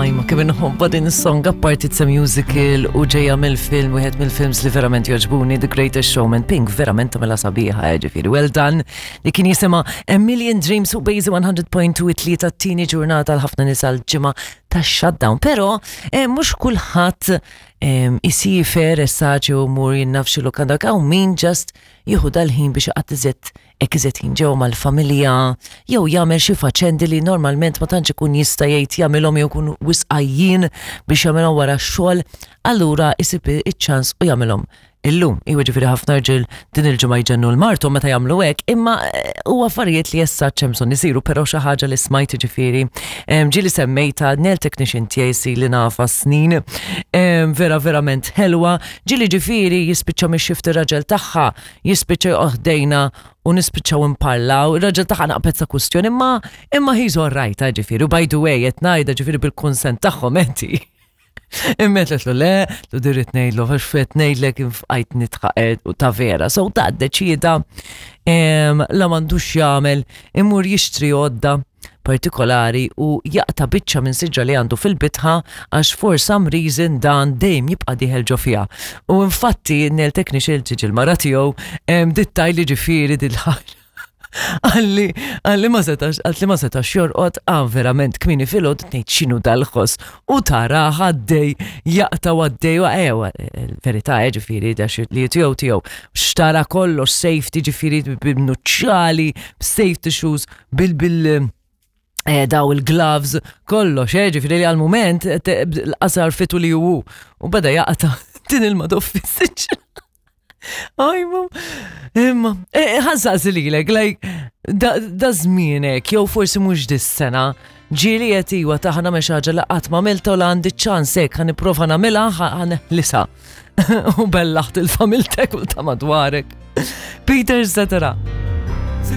Aj, ma kemm inħobba din is-song apparti it's a musical u ġejja mill-film wieħed mill-films li verament jogħġbuni The Greatest Showman Pink verament tagħmilha sabiħa eh, ġifieri. Well done li kien jisimha A Million Dreams u Bejzi 100.2 it-tlieta t-tieni ġurnata għal ħafna nies għall-ġimgħa tax-shutdown. Però eh, mhux kulħadd eh, isifer essaċi u mur jinnaf xi lukanda hawn min just jieħu dal-ħin biex iqatt iżjed hekk iżjed ħin ġew mal-familja jew jagħmel xi faċendi li normalment ma tantx ikun jista' jgħid jagħmilhom jew ikun wisq għajjien biex jagħmilhom wara x-xogħol, allura isib iċ-ċans u jagħmilhom illum. Iwa ġifieri ħafna rġiel din il-ġimgħa jġennu l-marthom meta jagħmlu hekk, imma eh, huwa affarijiet li issa hemm bżonn isiru, però xi ħaġa li smajt ġifieri ġieli semmejta nail technician tiegħi li nafa snin, vera verament ħelwa, ġieli ġifieri jispiċċa mix-xift ir-raġel tagħha jispiċċa joqgħod ħdejna u nispiċċaw imparlaw, ir-raġel tagħha naqbet sa kwistjoni, imma imma he's all right, eh, ġifieri, u by the way qed ngħidha ġifieri bil-kunsent tagħhom enti. Imma qed le, lu dirrit ngħidlu għax qed ngħidlek infqajt nitħaqed u ta' vera. So ta' deċieda la m'għandux jagħmel imur jixtri għodda partikolari u jaqta' biċċa minn siġra li għandu fil-bitħa għax for some reason dan dejjem jibqa' dieħel ġo fiha. U infatti n-nail technician tiġi l-mara tiegħu dittaj li ġifieri dil-ħaġa. Għalli, għalli ma setax, għalli ma setax jorqod, għan verament kmini filgħod ngħid x'inhu dal-ħoss u tara għaddej jaqta' għaddej u ewa, verità eh, ġifieri da li tiegħu tiegħu xtara kollox safety ġifieri b'nuċċali, safety shoes, bil bil eh, daw il-gloves, kollox, eh, ġifiri li għal-moment l-qasar fitu li ju u beda jaqta din il-madoffi Ajma, imma, eh, ħansaqsi lilek, like, da żmienek, jew forsi mhux dis-sena, ġieli qed iwa taħna me ħaġa li qatt ma għamilta u la għandi ċans hekk ħa nipprova nagħmilha ħa U bellaħt il-familtek u ta' madwarek. Peter Cetera.